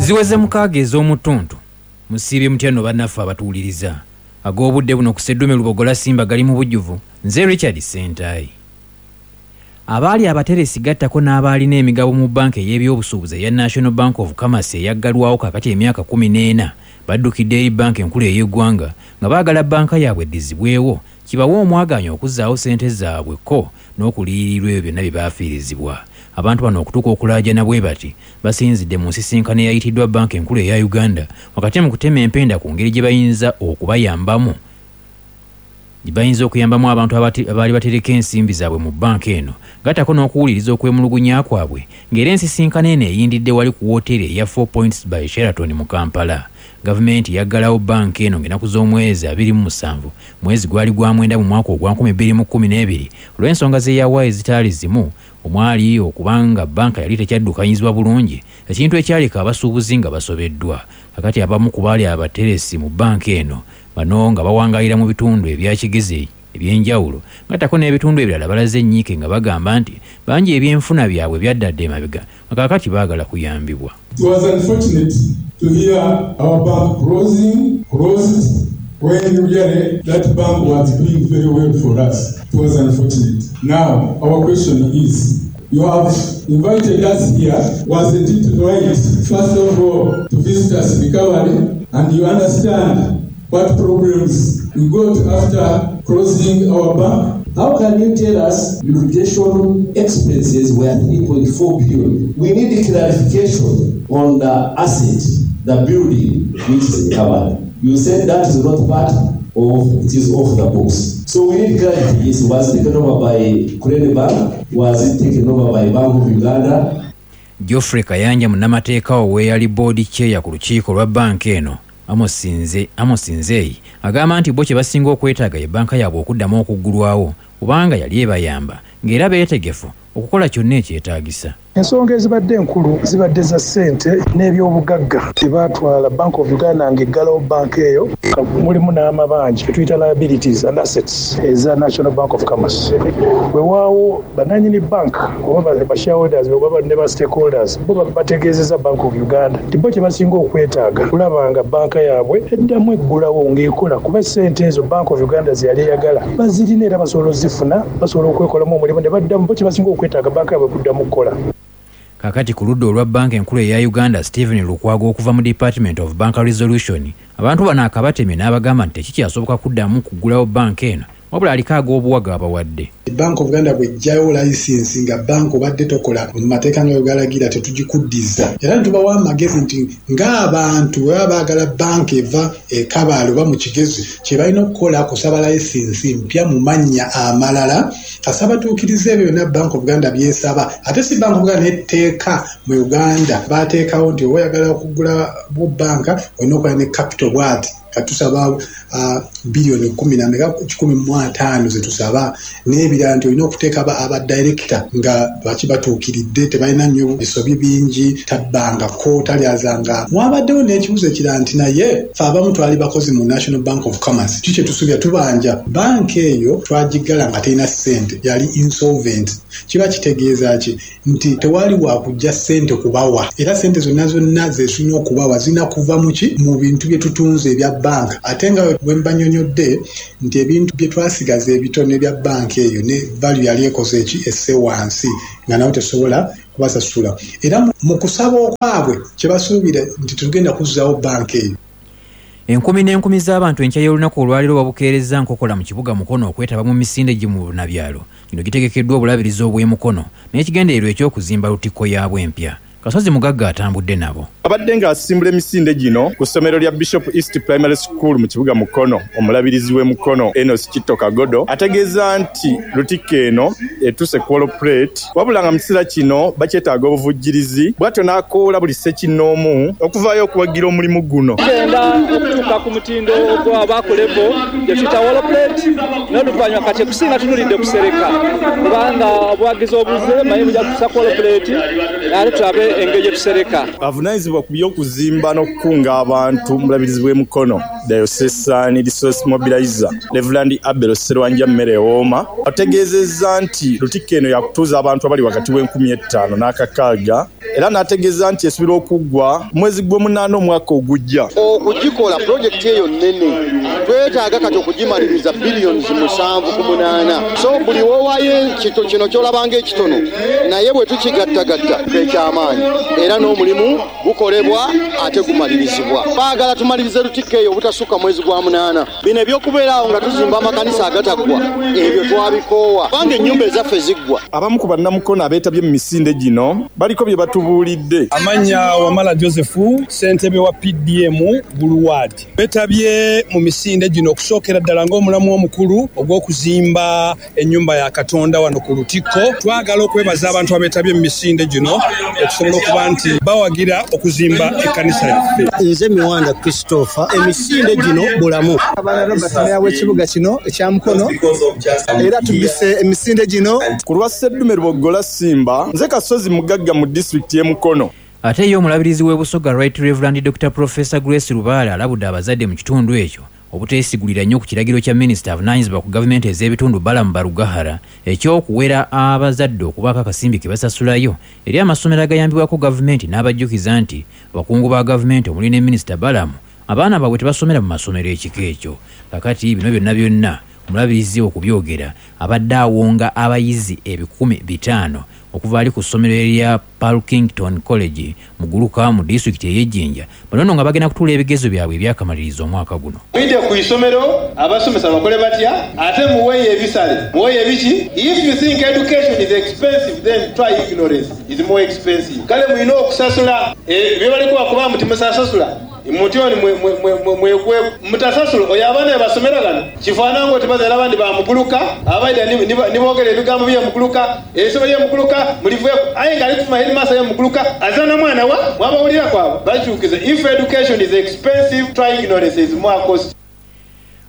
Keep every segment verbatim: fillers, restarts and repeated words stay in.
Ziweze mukaaga ez'omutuntu. Musiibye mutya nno bannaffe abatuwuliriza. Ag'obudde buno ku Sseddume Lubogola Simba gali mu bujjuvu. Nze Richard Ssentayi. Abaali abateresi gattako n'abaalina emigabo mu bbanka ey'ebyobusuubuzi eya National Bank of Commerce eyaggalwawo kaakati emyaka kkumi n'ena baddukidde eri bbanka enkulu ey'eggwanga nga baagala bbanka yaabwe eddizibwewo kibawe omwagaanya okuzzaawo ssente zaabwe ko n'okuliyirirwa ebyo byonna bye baafiirizibwa. Abantu bano okutuuka okulaajana bwe bati basinzidde mu nsisinkano eyayitiddwa bbanka enkulu eya Uganda wakati mu kutema empenda ku ngeri gye bayinza okubayambamu gye bayinza okuyambamu abantu abaali batereka ensimbi zaabwe mu bbanka eno gattako n'okuwuliriza okwemulugunya kwabwe ng'era ensisinkano eno eyindidde wali ku wooteeri eya Four Points by Sheraton mu Kampala. Gavumenti yaggalawo bbanka eno ng'ennaku z'omwezi abiri mu musanvu mwezi gwali gwa mwenda mu mwaka ogwa nkumi bbiri mu kkumi n'ebiri olw'ensonga ze yawa ezitaali zimu omwali okubanga bbanka yali tekyaddukanyizibwa bulungi, ekintu ekyaleka abasuubuzi nga basobeddwa. Kakati abamu ku baali abateresi mu bbanka eno bano nga bawangaalira mu bitundu ebya Kigezi ebyenjawulo gattako n'ebitundu ebirala balaze ennyiike nga bagamba nti bangi ebyenfuna byabwe byaddadde emabega nga kaakati baagala kuyambibwa. It was unfortunate to hear our bank closing, closed, when really that bank was doing very well for us. It was unfortunate. Now, our question is, you have invited us here, wasn't it right, first of all, to visit us recovery, and you understand what problems we got after closing our bank? How can you tell us liquidation expenses were three point four billion? We need clarification on the asset, the building which is recovered. You said that is not part of, it is off the books. So we need clarity. Yes, was it taken over by Crane Bank? Was it taken over by Bank of Uganda? Geoffrey Kayanja munnamateeka ow'eyali board chair ku lukiiko lwa bbanka eno Amos Nze, Amos Nzeyi agamba nti bo kye basinga okwetaaga ye bbanka yaabwe okuddamu okuggulwawo kubanga yali ebayamba ng'era beetegefu okukola kyonna ekyetaagisa. Ensonga ezibadde enkulu zibadde za ssente n'ebyobugagga bye baatwala Bank of Uganda ng'eggalawo bbanka eyo, mulimu n'amabanja tuyita liabilities and assets eza National Bank of Commerce. Weewaawo bannannyini bank oba ba shareholders oba ne ba stakeholders bo bategeezezza Bank of Uganda nti bo kye basinga okwetaaga kulaba nga bbanka yaabwe eddamu eggulawo ng'ekola, kuba ssente ezo Bank of Uganda ze yali eyagala bazirina era basobola ozifuna, basobola okwekolamu omulimu ne baddamu. Bo kye basinga okwetaaga bbanka yaabwe kuddamu kukola. Kakati ku ludda olwa bbanka enkulu eya Uganda, Stephen Lukwago okuva mu Department of Bank Resolution abantu bano akabatemye n'abagamba nti tekikyasoboka kuddamu kuggulawo bbanka eno, wabula aliko ag'obuwaga abawadde. Bank of Uganda bw'eggyayo layisinsi nga banka obadde tokola mu mateeka nga bwe galagira tetugikuddiza, era ne tubawa amagezi nti ng'abantu bwe baba baagala banka eva e Kabaale oba mu Kigezi, kye balina okukola kusaba layisinsi mpya mu mannya amalala kasaba batuukirize ebyo byonna Bank of Uganda by'esaba. Ate si Bank of Uganda n'etteeka mu Uganda baateekawo nti oba oyagala okugula banka olina okuba ne capital bw'ati, katusaba uh, biliyoni kumi na meka kikumi mu ataano ze tusaba, n'ebirala nti olina okuteeka aba director nga baki batuukiridde, tebalina nnyo bisobi bingi, tabbangako, talyazanga. Mwabaddewo n'ekibuuzo ekirala nti naye ffe abamu twali bakozi mu National Bank of Commerce, kiki kye tusuubira? Tubanja banka eyo twagiggala nga terina ssente, yali insolvent. Kiba kitegeeza ki? Nti tewali wakujja ssente kubawa, era ssente zonna zonna ze tulina okubawa zirina kuva mu ki? Mu bintu bye tutunze ebya banka. Ate nga bwe mbanyonyodde nti ebintu bye twasigaza ebitono ebya banka eyo ne value yali ekoze eki esse wansi nga nabo tesobola kubasasula, era mu kusaba okwabwe kye basuubira nti tugenda kuzzaawo banka eyo. Enkumi n'enkumi z'abantu enkya y'olunaku olwaleero babukeerezza nkokola mu kibuga Mukono okwetaba mu misinde gye mu Bunabyalo. Gino gitegekeddwa obulabirizi obw'e Mukono n'ekigendererwa eky'okuzimba lutikko yaabwe empya. Kasozi Mugagga atambudde nabo. Abadde ng'asimbula emisinde gino ku ssomero lya Bishop East Primary School mu kibuga Mukono, omulabirizi w'e Mukono Enos Kitto Kagodo ategeeza nti lutikko eno etuuse ku wall plate, wabula nga mu kiseera kino bakyetaaga obuvujjirizi, bw'atyo n'akoola buli ssekinnoomu okuvaayo okuwagira omulimu guno. Tugenda okutuuka ku mutindo ogw'abakulebo gye tuyita wall plate, n'oluvannyuma kati ekusinga tunulidde kusereka, kubanga obuwagizi obuze manyi bujja kutuusa ku wall plate, ate tulabe engeri gye tusereka. Avunaanyizibwa ku by'okuzimba n'okukunga abantu mu bulabirizi bw'e Mukono, Diocesan Resource Mobilizer Reverend Abel Sserwanja Mmerewooma ategeezezza nti lutikko eno yakutuuza abantu abali wakati w'enkumi ettaano n'akakaaga, era n'ategeeza nti esubirwa okuggwa mwezi gw'omunaana omwaka ogujja. Okugikola pulojekiti eyo nnene, twetaaga kati okugimaliriza billions musanvu ku munaana. So buli w'owaayo kino ky'olabanga ekitono, naye bwe tukigattagatta ekyamaanyi, era n'omulimu gukolebwa ate gumalirizibwa. Baagala tumalirize Lutikko eyo obutasukka mwezi gwa munaana. Bino eby'okubeeraawo nga tuzimba amakanisa agataggwa, ebyo twabikoowa kubanga ennyumba ezaffe ziggwa. Abamu ku bannamukono abeetabye mu misinde gino baliko bye batubuulidde. Amannya Wamala Joseph, ssentebe wa P D M Gulu Ward. Beetabye mu misinde gino okusookera ddala ng'omulamu omukulu ogw'okuzimba ennyumba ya Katonda wano ku Lutikko. Twagala okwebaza abantu abeetabye mu misinde gino okusobola okuba nti bawagira okuzimba ekkanisa yaffe. Nze Miwanda Christopher, emisinde gino bulamu. Abaana Robert meya w'ekibuga kino ekya Mukono, era tubise emisinde gino. Ku lwa Sseddume Lubogola Simba, nze Kasozi Mugagga mu disitulikiti y'e Mukono. Ate ye omulabirizi w'e Busoga Right Reverend Doctor Professor Grace Lubaale alabudde abazadde mu kitundu ekyo obuteesigulira nnyo ku kiragiro kya minisita avunaanyizibwa ku gavumenti ez'ebitundu Balaam Barugahara eky'okuwera abazadde okubaako akasimbi ke basasulayo eri amasomero agayambibwako gavumenti, n'abajjukiza nti abakungu ba gavumenti omuli ne minisita Balaam abaana baabwe tebasomera mu masomero ekika ekyo. Kakati bino byonna byonna omulabirizi okubyogera abadde awonga abayizi ebikumi bitaano okuva ali ku ssomero erya Parkington College mu Guluka mu disitulikiti ey'e Jinja, bano nno nga bagenda kutuula ebigezo byabwe ebyakamaliriza omwaka guno. Mwidde ku isomero abasomesa bakole batya, ate muweeyo ebisale, muweeyo ebiki. If you think education is expensive, then try ignorance is more expensive. Kale mulina okusasula bye baliko bakuba muti musasasula mutyoni mwekwe mutasasula oyo abaana basomera gano kifaanana ng'oti abandi bamuguluka abaida nibogera ebigambo byemuguluka ebisoma byemuguluka muliveeko aye nga ali kufuma headmaster yemuguluka azana mwana wa mwabawulira kwabo bakyukize. If education is expensive, try ignorance is more cost.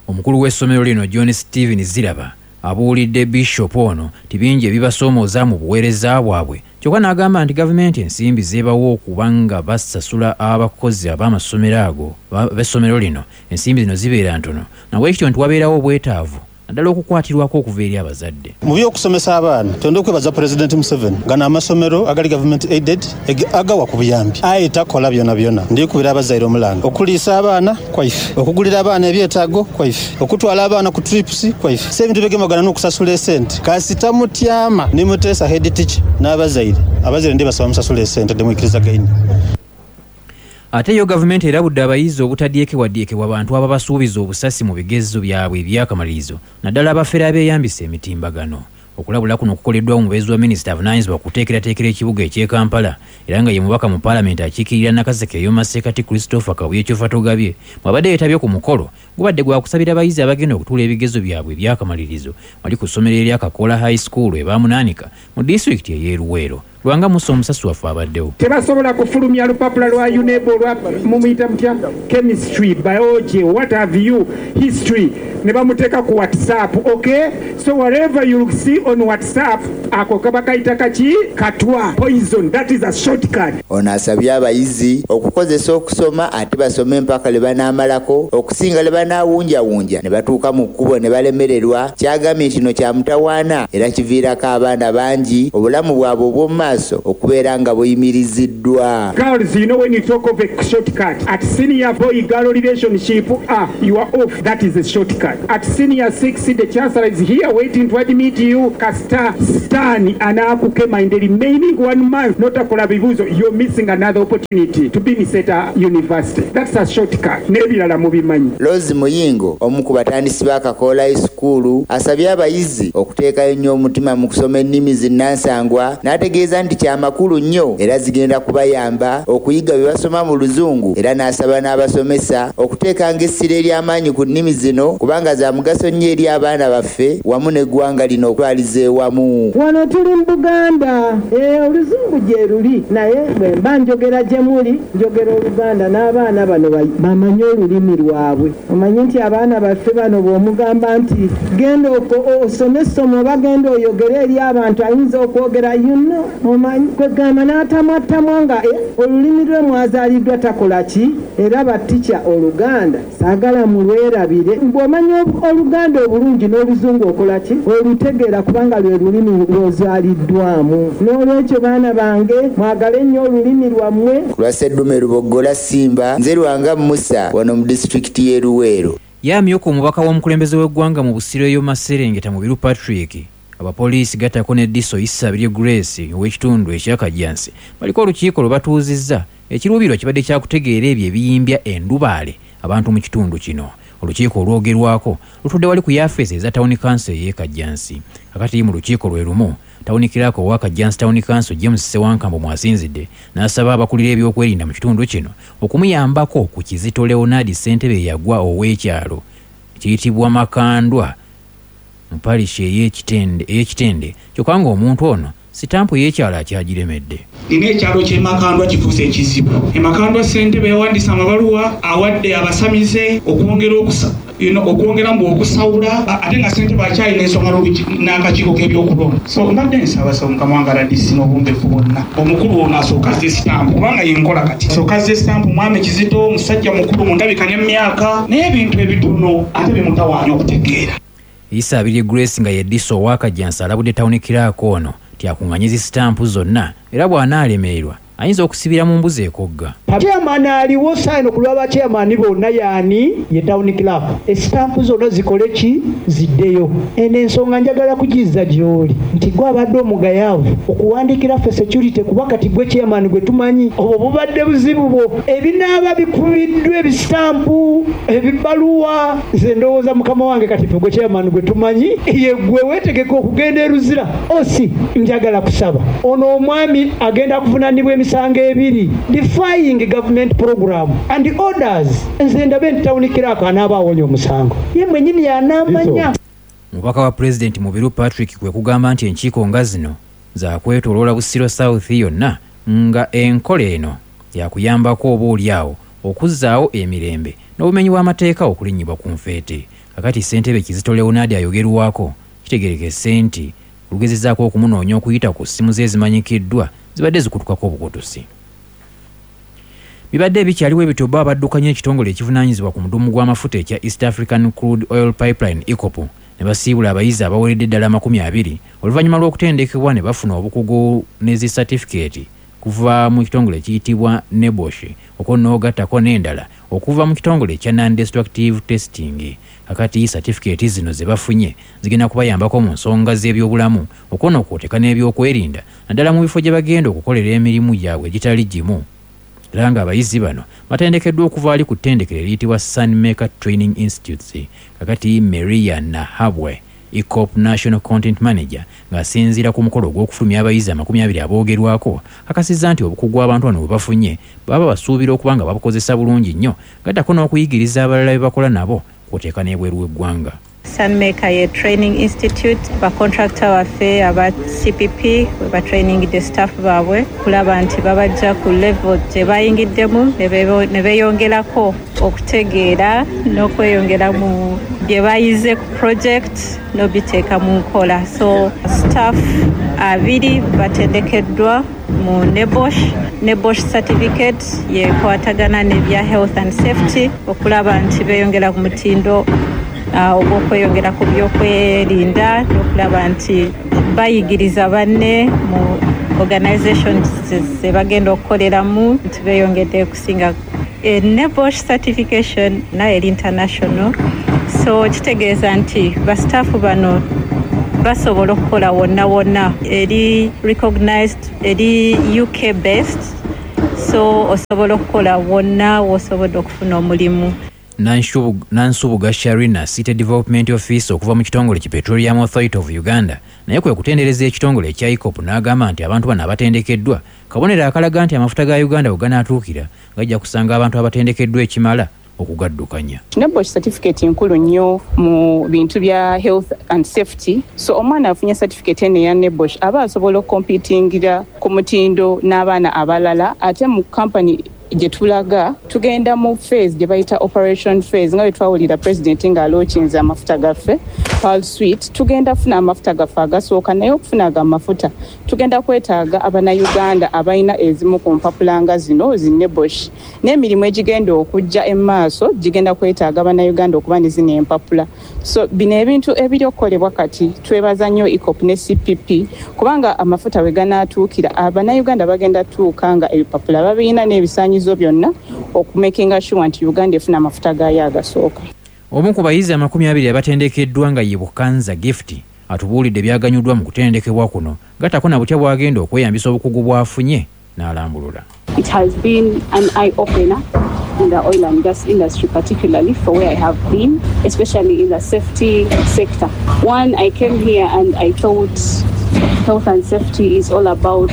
Omukulu w'essomero lino John Steven Ziraba abuulidde Bishop ono nti bingi ebibasoomooza mu buweereza bwabwe, kyokka n'agamba nti gavumenti ensimbi zeebawa okuba nga basasula abakozi ab'amasomero ago b'essomero lino ensimbi zino zibeera ntono, nabwekityo nti wabeerawo obwetaavu naddala okukwatirwako okuva eri abazadde. Mu by'okusomesa abaana twenda okwebaza Pulezidenti Museveni gano amasomero agali government aided agawa ku buyambi, aye takola byona byona. Ndikubira abazaire omulanga okuliisa abaana kwaife, okugulira abaana ebyetaago kwaife, okutwala abaana ku trips kwaife. Si ebintu byegemagana n'okusasula esente. Kasita mutyama ne muteesa head teacher n'abazaire, abazaire ndi basaba musasula esente demwikiriza gaini. Ate yo gavumenti erabudde abayizi obutadyekewaddyekebwa bantu ababasuubiza obusasi mu bigezo byabwe ebyakamalirizo, naddala abafere abeeyambisa emitimbagano. Okulabula kuno kukoleddwa omubeezi wa minisita avunaanyizibwa ku kuteekerateekera ekibuga eky'e Kampala era nga ye mubaka mu paalamenti akiikirira Nakaseke ey'omu masekkati Christopher Kabuye Kyofatogabye bw'abadde yeetabye ku mukolo gubadde gwa kusabira abayizi abagenda okutuula ebigezo byabwe ebyakamalirizo wali ku ssomero erya Kakola High School e Bamunaanika mu disitulikiti ey'e Luweero. Lwanga Musa omusasi waffe abaddewo. Tebasobola kufulumya lupapula lwa UNEB olwa mumuyita mutya chemistry, biology, what have you, history ne bamuteeka ku WhatsApp. Okay, so whatever you see on WhatsApp ako kaba kayita kaki katwa poison, that is a shortcut. Ono asabye abayizi okukozesa okusoma ate basome mpaka lwe banaamalako okusinga lwe banaawunjawunja ne batuuka mu kkubo ne balemererwa. Kyagambye kino kya mutawaana era kiviirako abaana bangi obulamu bwabwe obw'omu maaso okubeera nga buyimiriziddwa. Girls, you know when you talk of a shortcut at senior boy girl relationship, ah, you are off, that is a shortcut. At senior six, the chancellor is here waiting to admit you. Kasita Stan anaakukema in the remaining one month notakola bibuuzo, you're missing another opportunity to be in Seta University. That's a shortcut. N'ebirala mubimanyi. Rose Muyingo omu ku batandisi ba Kakola High School asabye abayizi okuteekayo nnyo omutima mu kusoma ennimi zinnansangwa n'ategeeza nti kyamakulu nnyo era zigenda kubayamba okuyiga bye basoma mu Luzungu, era n'asaba n'abasomesa okuteekanga essira ery'amaanyi ku nnimi zino kubanga za mugaso nnyo eri abaana baffe wamu n'eggwanga lino okutwaliza ewamu. Wano tuli mu Buganda, eh, Oluzungu gye luli, naye bwe mba njogera gye muli njogera Oluganda n'abaana bano bamanye olulimi lwabwe. Omanye nti abaana baffe bano bw'omugamba nti genda osome essomo oba genda oyogere eri abantu ayinza okwogera you know, Omanyi kwegamba n'atamwatamwa nga olulimi lwe mwazaaliddwa takola ki? Era batica Oluganda saagala mulwerabire. Bw'omanya Oluganda obulungi n'Oluzungu okola ki? Olutegeera, kubanga lwe lulimi lw'ozaaliddwamu. N'olwekyo baana bange, mwagale nnyo olulimi lwammwe. Ku lwa Sseddume Luboggola Simba, nze Lwanga Musa, wano mu disitulikiti y'e Luweero. Yamyuka omubaka w'omukulembeze w'eggwanga mu Busiro eyo Maserengeta Mubiru Patrick, abapoliisi gattako ne D I S O Isabirye Grace ow'ekitundu ekya Kajjansi baliko olukiiko lwe batuuzizza. Ekiruubirwa kibadde kyakutegeera ebyo ebiyimbya endubaale abantu mu kitundu kino. Olukiiko olwogerwako lutudde wali ku yafeesi eza Town Council ey'e Kajjansi. Kakati mu lukiiko lwe lumu, Town Clerk owa Kajjansi Town Council James Ssewankambo mwasinzidde n'asaba abakulira ebyokwerinda mu kitundu kino okumuyambako ku Kizito Leonard, ssentebe eyagwa ow'ekyalo kiyitibwa Makandwa mu parish ey'Ekitende ey'Ekitende kyokka ng'omuntu ono sitampu y'ekyalo akyagiremedde. Nina ekyalo ky'e Makandwa kifuuse ekizibu. E Makandwa ssentebe yawandiise amabaluwa awadde abasamize okwongera okusa you know, okwongera mbu okusawula, ate nga ssentebe akyalina ensonga n'akakiiko k'ebyokulonda. So mbadde nsaba saba mukama wange R D C n'obumbefu bwonna, omukulu ono asooka azze sitampu, kubanga yenkola kati asooka azze sitampu. Mwami Kizito musajja mukulu mu ndabika n'emyaka, naye ebintu ebitono ate bimutawaanya okutegeera. Isabirye Grace nga ye D I S O owa Kajjansi alabudde Town Clerk ono nti akuŋŋaanye zi sitampu zonna, era bw'anaalemererwa ayinza okusibira mu mbuzi ekogga. Chairman aliwo saino ku lwaba chairman bonna yaani ye town clerk. Esitampu zonna zikole ki? Ziddeyo. Eno ensonga njagala kugizza gy'oli nti gwe abadde omugayaavu okuwandiikira ffe security, kuba kati gwe chairman gwe tumanyi, obwo bubadde buzibu bwo. Ebinaaba bikubiddwa, ebisitampu, ebibaluwa, nze ndowooza mukama wange kati ffe gwe chairman gwe tumanyi ye gwe weetegeka okugenda e Luzira. Osi njagala kusaba ono omwami agenda kuvunaanibwa emisango ebiri, defying government program and orders. Nze ndabe nti town clerk anaaba awonya omusango, ye mwenyini yanaamanya. Omubaka wa Pulezidenti Mubiru Patrick kwe kugamba nti enkiiko nga zino zakwetooloola Busiro South yonna, nga enkola eno yakuyambako oba oliawo okuzzaawo emirembe n'obumenyi bw'amateeka okulinnyibwa ku nfeete. Kakati ssentebe Kizito Leonard ayogerwako kitegerekese nti olugezezzaako okumunoonya okuyita ku ssimu ze ezimanyikiddwa zibadde zikutukako obukutusi. Bibadde bikyaliwo ebityo, bo abaddukanya ekitongole ekivunaanyizibwa ku mudumu gw'amafuta ekya East African Crude Oil Pipeline, EACOP, ne basiibula abayizi abaweredde ddala amakumi abiri oluvannyuma lw'okutendekebwa ne bafuna obukugu ne zi satifikeeti kuva mu kitongole ekiyitibwa NEBOSH, okwo n'ogattako n'endala okuva mu kitongole ekya Non-Destructive Testing. Kakati satifikeeti zino ze bafunye zigenda kubayambako mu nsonga z'ebyobulamu, okwo n'okwoteka n'ebyokwerinda, naddala mu bifo gye bagenda okukolera emirimu gyabwe egitali gimu. Era ng'abayizi bano batendekeddwa okuva ali ku ttendekero eriyitibwa Sunmaker Training Institutes. Kakati Maria Nahabwe, EACOP National Content Manager, ng'asinziira ku mukolo ogw'okufulumya abayizi amakumi abiri aboogerwako, akakasizza nti obukugu abantu bano bwe bafunye baba basuubira okuba nga babukozesa bulungi nnyo, gattako n'okuyigiriza abalala be bakola nabo kwoteeka n'ebweru w'eggwanga. Sunmaker ye training institute bacontractor baffe aba C P P we batrainingidde staff baabwe kulaba nti babajja ku level gye bayingiddemu ne beeyongerako okutegeera n'okweyongera mu bye bayize ku project n'obiteeka mu nkola. So staff abiri batendekeddwa mu NEBOSH. NEBOSH certificate yekwatagana n'ebya health and safety, okulaba nti beeyongera ku mutindo uh, ogw'okweyongera ku byokwerinda n'okulaba nti bayigiriza banne mu organizations ze bagenda okukoleramu nti beeyongedde kusinga. E, NEBOSH certification nayo eri international, so kitegeeza nti basitaafu bano basobola okukola wonna wonna. Eri recognized, eri U K based, so osobola okukola wonna wosobodde okufuna omulimu. Nansubuga Sharina, City Development Office okuva mu kitongole ki Petroleum Authority of Uganda, naye kwe kutendereza ekitongole ekya EACOP n'agamba nti abantu bano abatendekeddwa kabonero akalaga nti amafuta ga Uganda we ganaatuukira gajja kusanga abantu abatendekeddwa ekimala okugaddukanya. NEBOSH certificate nkulu nnyo mu bintu bya health and safety. So omwana afunye certificate eno eya NEBOSH aba asobola okucompetingira ku mutindo n'abaana abalala, ate mu company. Gye tulaga tugenda mu phase gye bayita operation phase, nga bwe twawulira pulezidenti ng'alookinze amafuta gaffe Pearl Sweet. Tugenda funa amafuta gaffe agasooka, naye okufuna ago amafuta tugenda kwetaaga Abannayuganda abalina ezimu ku mpapula nga zino zi NEBOSH, n'emirimu egigenda okujja emaaso gigenda kwetaaga Abannayuganda okuba ne zino empapula. So bino ebintu ebiri okukolebwa kati, twebaza nnyo EACOP ne C P P, kubanga amafuta we ganaatuukira Abannayuganda bagenda tuuka nga ebipapula babirina n'ebisaanyizo byonna okumakinga sure nti Uganda efuna amafuta gaayo agasooka. Omu ku bayizi amakumi abiri abatendekeddwa nga ye Bukanza Gift atubuulidde byaganyuddwa mu kutendekebwa kuno, gattako na butya bw'agenda okweyambisa obukugu bw'afunye n'alambulula. It has been an eye opener in the oil and gas industry, particularly for where I have been, especially in the safety sector. One, I came here and I thought health and safety is all about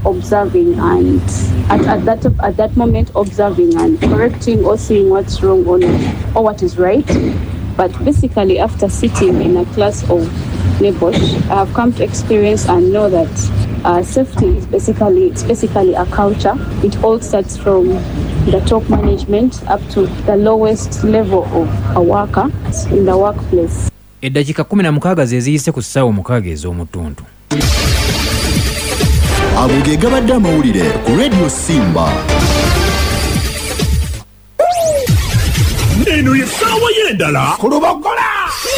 observing and at, at that at that moment observing and correcting or seeing what's wrong or, not, or what is right. But basically, after sitting in a class of NEBOSH, I have come to experience and know that uh, safety is basically it's basically a culture. It all starts from the top management up to the lowest level of a worker in the workplace. Eddakiika kumi na mukaaga ze ziyise ku ssaawa omukaaga ez'omutuntu. Ago ge gabadde amawulire ku Radio Simba. Eno ye ssaawa y'endala ku Lubogola.